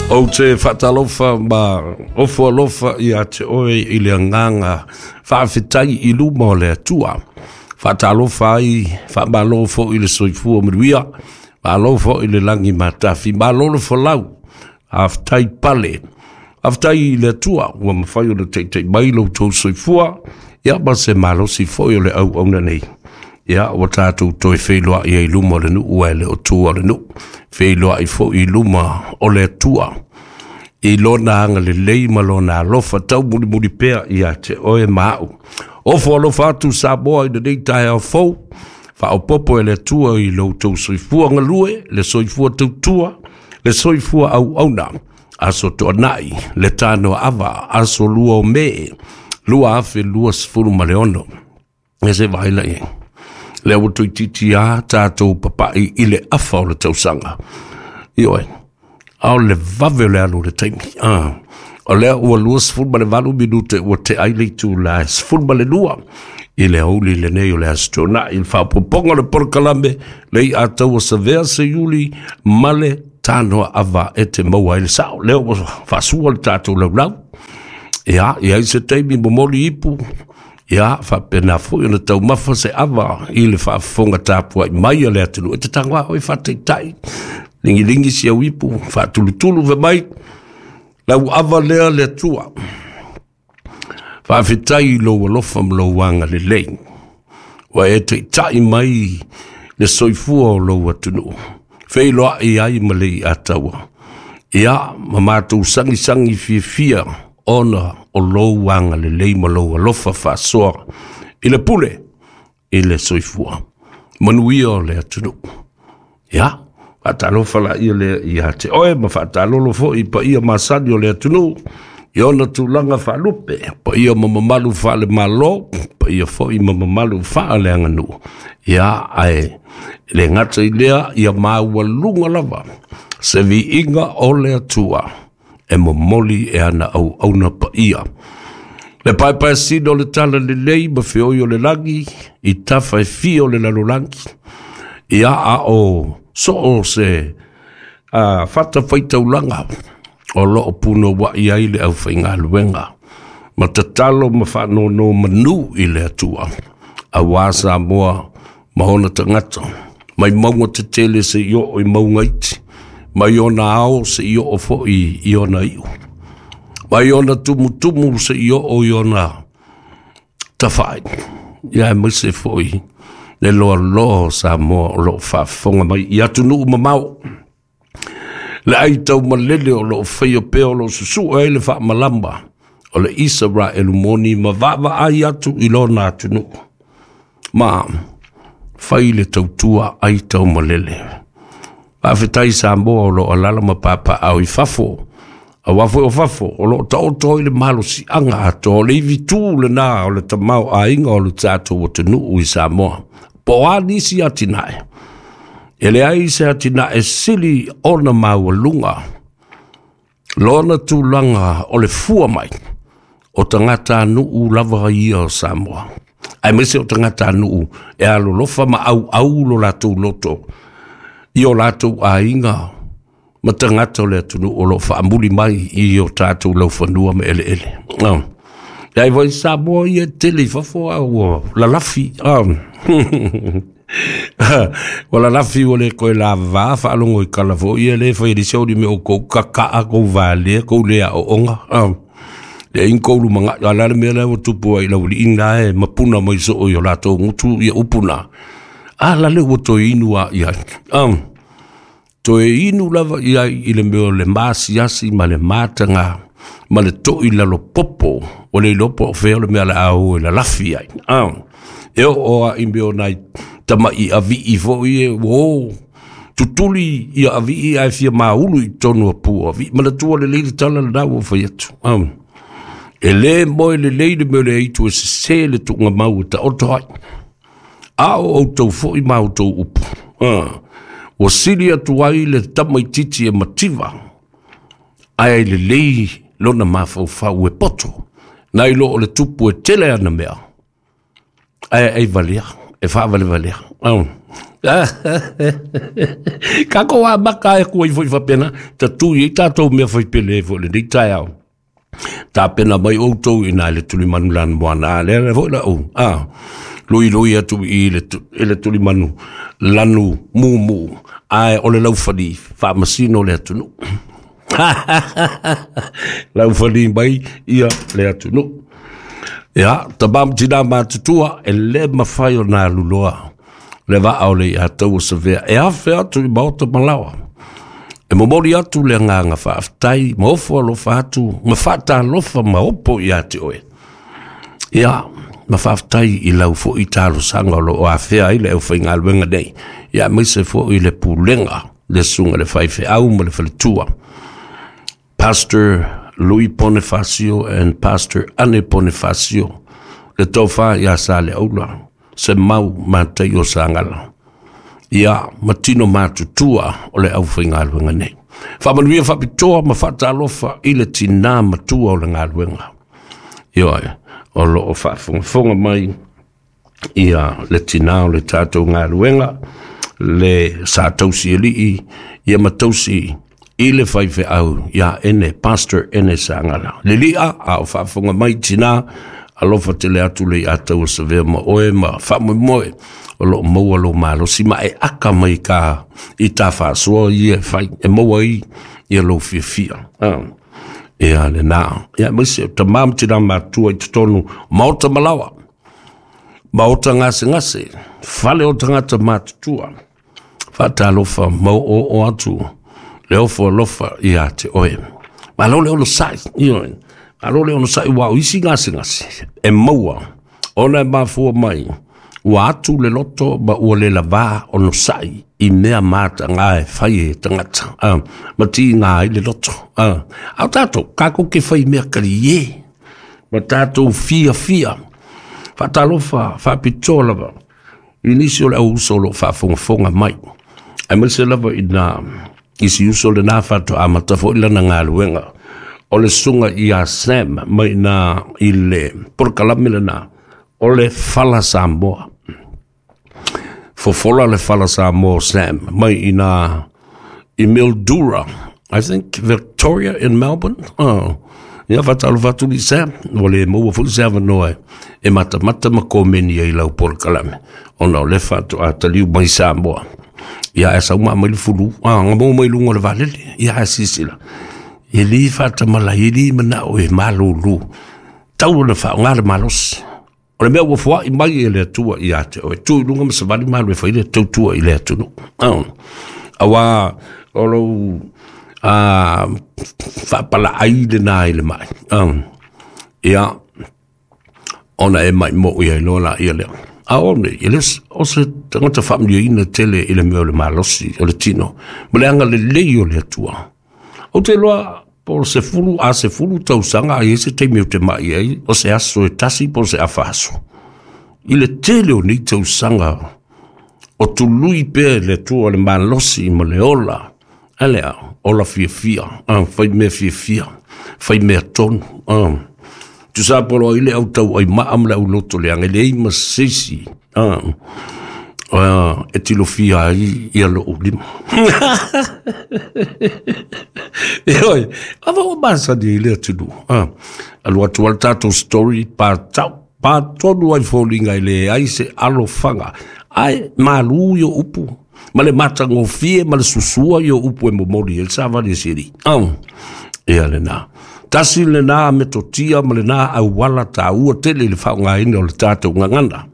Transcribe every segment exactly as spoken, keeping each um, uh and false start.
Ou te faatalofa ma ofo alofa ia te oe i le agaga faafetai i luma o le Atua. Faatalofa ai, faamalo foi le soifua manuia, malo foi le lagi matafi, malo le folau, faafetai pale. Faafetai i le Atua ua mafai ona taitai mai lo outou soifua, ia ma se malosi foi o le auauna nei. Ia, ua tatou toe feiloai ai i luma o le nuu ae le o tua o le nuu. Feiloai foi i luma o le Atua i lona agalelei ma lona alofa taumulimuli pea ia te oe ma au. Ofo alofa atu Samoa i lenei taeao fou, faaopoopo e le Atua i lo outou soifua galue, le soifua tautua, le soifua auauna. Aso Toonai, le tanoa ava, aso lua o Me, lua afe lua sefulu ma le ono. E se vaai la i ai. Lea ua toeitiiti lava tatou papai i le afa o le tausaga. Ioe, a o le vave o le alu o le taimi. Ah. O lea ua lua sefulu ma le valu minute ua tea ai le itula e sefulu ma le lua i le aoauli lenei o le Aso Toonai, i le faaopoopoga o le polokalame le iataua Savea Seiuli ma le tanoa ava e te maua ai le sao. Lea ua faasua le tatou laulau. Ia, i ai se taimi momoli ipu, ia, faapena foi ona taumafa se ava i le faafofoga tapuai mai a le atunuu. E te tago a oe faataitai, ligilige si au ipu, faatulutulu ve mai, lau ava lea le Atua. Faafetai i lou alofa ma lou agalelei. Ua e taitai mai le soifua o lou atunuu. Feiloai ai ma le iataua. Ia, ma matou sagisagi fiafia ona o lou agalelei ma lou alofa faasoa i le pule i le soifua. Manuia o le atunuu. Ia, faatalofa laia lea ia te oe ma faatalolo foi i paia masani o le atunuu i ona tulaga faalupe, paia ma mamalu faale-Malo, paia foi ma mamalu faaleaganuu. Ia, ae le gata i lea, ia maualuga lava se viiga o le Atua e momoli e ana auauna paia. Le paepaeasina o le tala lelei ma feoi o le lagi i tafa e fia o le lalolagi. Ia, a o soo se uh, fatafaitaulaga o loo punouai ai le aufaigaluega ma tatalo ma faanono manu i le Atua auā Samoa ma ona tagata mai mauga tetele seia oo i mauga iti, mai ona ao seia oo foi i ona iu, mai ona tumutumu seia oo i ona tafaai, ia aemaise foi le loaloa o Samoa o loo faafofoga mai i atunuu mamao. Le ai taumalele o loo faia pea o loo susue ai le faamalama o le Isaraelu moni ma vaavaai atu i lona atunuu. Ma fai le tautua ai taumalele. Faafetai Samoa o loo alaala ma papaaao i fafo. Aua foi o fafo o loo taoto ai le malosiaga atoa o le ivitu lena o le tamaoaiga o le tatou atunuu i Samoa. Po o a nisi atinae. E leai se atinae sili ona maualuga lona tulaga o le fua mai o tagatanuu lava ia o Samoa. Aemaise o tagatanuu e alolofa ma auau lo latou loto i o latou aiga ma tagata o le atunuu o loo faamuli mai i o tatou laufanua ma eleele. Oh. Ai foi Samoa ia tele i fafo a ua lalafi. Oh. Ua lalafi ua le koe lava faalogo i kala foi ia le fai le o me o kou kakaa kou valea kou le aoonga. Oh. Le in kou lumanga ala le mea lea ua tupu ai lau liina e mapuna mai soo i o latou gutu ia upuna. A la le ua toe inu a i ai. Um, toe inu lava i ai i le mea o le masiasi ma le mataga ma le toi lalo popo o le iloa po o fea o le mea o le a o e lalafi ai. Um, e oo a i mea o nai tama'i avii foi e ua o tutuli ia avii ae fia maulu i totonu o pua avii. Manatua lelei le tala lena ua fai atu. Um, e lē moe lelei le mea o le aitu e sesē le tuugamau e taoto ai. A o outou foi ma outou upu. Uh, ua sili atu ai le tamaititi e mativa ae lelei lona mafaufau e poto nai lo o le tupu e tele ana mea ae ai valea e faavalevalea. Oh. Kako a maka e kua i fo i whapena, ta tui i tātou mea whaipele e fo le nei tai au. Tā pena mai outou i nā le tulimanu lanu moana, a lea le fo la o. Ah, lui lui atu i le, i le tulimanu lanu mumu, ae o le laufali whaamasino le atunu. Laufali mai ia le atunu. Ia, tabam tina matutua, e le mawhai o nā luloa. Le vaa o le ia tau o savea. E awhe atu i maota malawa. E momori atu le nganga whaaftai, ma ofo alofa atu, ma whaatalofa ma opo i ate oe. Ia, ma whaaftai i lau fo i talo sanga o lo o awhea i le au whaingaluenga nei. Ia, maise fo i le pulenga, le sunga le whaiwhe au ma le whaletua. Pastor Louis Bonifacio and Pastor Anne Bonifacio, le taufa ia sa le aula, se mau mātai o sangala. Ia, matino mātutua o le au whaingaluenga nei. Whaamanuia whapitoa ma whaatalofa i le tina matua o le ngaluenga. Ioe, o lo o whaafongafonga mai ia le tina o le tātou ngaluenga, le sa tausi elii, ia matausi i le whaiwhe au, ia ene, Pastor ene sangala. Le lia, a o whaafonga mai tina, alofa tele atu le ia tau o savea ma oe ma whaamoemoe, o lo maua lo malosi ma e aka mai ka i tā whaasoa i e whai, e maua i ia lo fiafia. Ah. Ia le nā. Ia maise, o tamam tina matua i totonu, maota malawa, maota ngase ngase, fale o tangata matutua, whaatalofa mau o o atu, le ofo alofa ia te oe. Ma lo le ono sai, ioe. Ma lo le ono sai wa o isi ngase ngase, e maua, ona e mafua mai, ua atu le loto ma ua le lava ono sai i mea mata ngā e whai e tangata. Ah, ma ti ngā i le loto. Ah, au tātou, kako ke whai mea kari e. Ma tātou fia fia. Whaatalofa, whaapitoa lava. I nisi o le au uso lo whaafongafonga mai. Ai maise lava i nā, isi uso le nā whato a matafo i lana ngā luenga. O le sunga i a Sam mai nā i le porokalame le nā. O le whala Samoa. Fofola le whala Samoa Sam mai i nā i Mildura. I think Victoria in Melbourne. Oh. Ia whatalo whatu li Sam. O le maua fuli se awanoa e matamata ma komeni ai lau porokalame. Ona o le whato a taliu mai Samoa. Ia e sau maa mai le fulu. Ah, ngā mau mai lunga le valele. Ia e sisila. E li whatamala, e li mana o e malulu. Tau na wha o ngā le malosi. O le mea ua fua i mai e le atua i ate o e tui lunga ma savali malu e whaile tautua i le atunu. Oh. Awa o lou uh, whaapala ai le nā i le mai. Oh. Ia, ona e mai mo ia i loa la ia lea. A one, i le o se tangata whaamlia ina tele i le mea o le malosi, o le tino. Ma le anga le lei o le atua. O te loa, po se fulu a se fulu tausanga ai se teimi o te mai ai, o se aso e tasi po se afaso. I le tele o nei tausanga, o tului pē le atua le malosi ma le ola. Alea, ola fiafia, ah, whai mea fiafia, whai mea tonu. Ah. Tu sa polo ai le au tau ai maa ma le au loto le ange le ei ma seisi. Ah. Ah, e tilofia ai ia lo ulima. E oi, awa o masa ni le atunu. Ah, alu atu al tātou story pa tau, pa tonu ai fōlinga i le ai se alofanga. Ai, malu yo upu. Ma le matangofie, ma le susua yo upu e momori, el sa vale siri. Ah, e ale nā. Tasi le nā me totia ma le nā au wala tā ua tele le whaongaina o le tātou ngangana.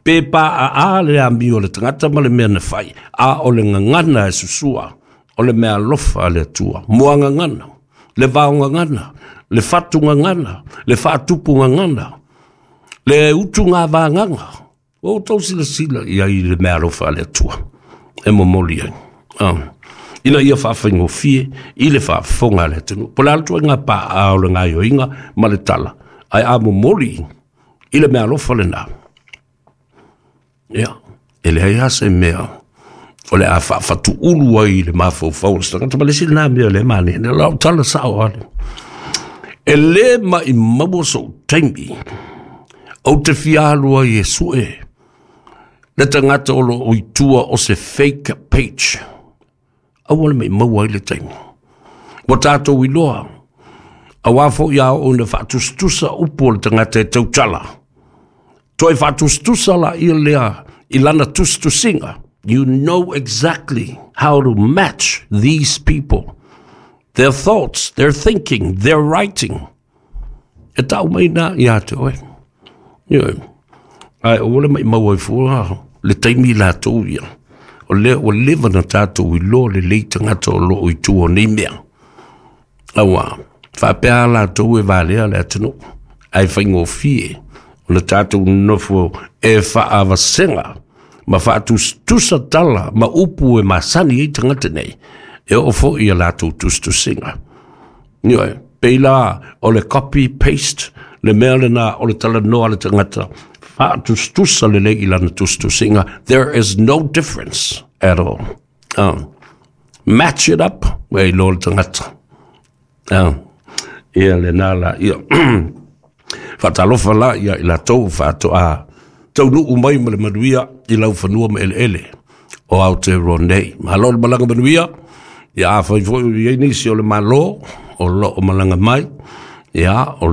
Pe pa a a le ami o le tangata ma le mea na whai. A o le ngangana e susua. O le mea alofa a le atua. Moa ngangana. Le vao ngangana. Le fatu ngangana. Le whaatupu ngangana. Le utu ngā vānganga. O tau sila sila ia i le mea alofa a le atua. E momoli ai. Ah. Ina ia whaawhaingofie, i le whaafonga le atunu. Po le altua ngā pā a o le ngā ioinga ma le tala. Ai a momoli i le mea alofa le nā. Ia, e le ai ase mea. O le a whaafatu ulu ai le mawhaufau. Tangata ma le sila nā mea le mane. Ne lau tala sao ale. E le ma i maua so taimi. O te fialu ai e sue. Le tagata o loo i tua o se fake page, aua le maumau ai le taimi. Ua tatou iloa, auā foi a oo ina faatusatusa upu o le tagata e tautala, toe faatusatusa laia lea i lana tusitusiga. You know exactly how to match these people, their thoughts, their thinking, their writing. E tau mai na ia te oe. Ioe. Ae aua le maumau ai fua le taimi latou ia. O lea ua leva na tatou iloa lelei tagata o loo i tua o nei mea. Auā, faapea latou e valea le atunuu. Ae faigofie ona tatou nofo e faavasega ma faatusatusa tala ma upu e masani ai tagata nei. E oo foi ia latou tusitusiga. Ioe, pei la o le copy paste le mea lena o le talanoa a le tagata faatusatusa lelei i lana tusitusiga. There is no difference at all. Uh, match it up, ua iloa le tagata. Uh, ia lena la ia. Faatalofa la ia i latou faatoa taunuu mai ma le manuia i laufanua ma eleele o Aotearoa nei. Malo le malaga manuia, ia afai foi o i ai nisi o le Malo o loo malaga mai, ia o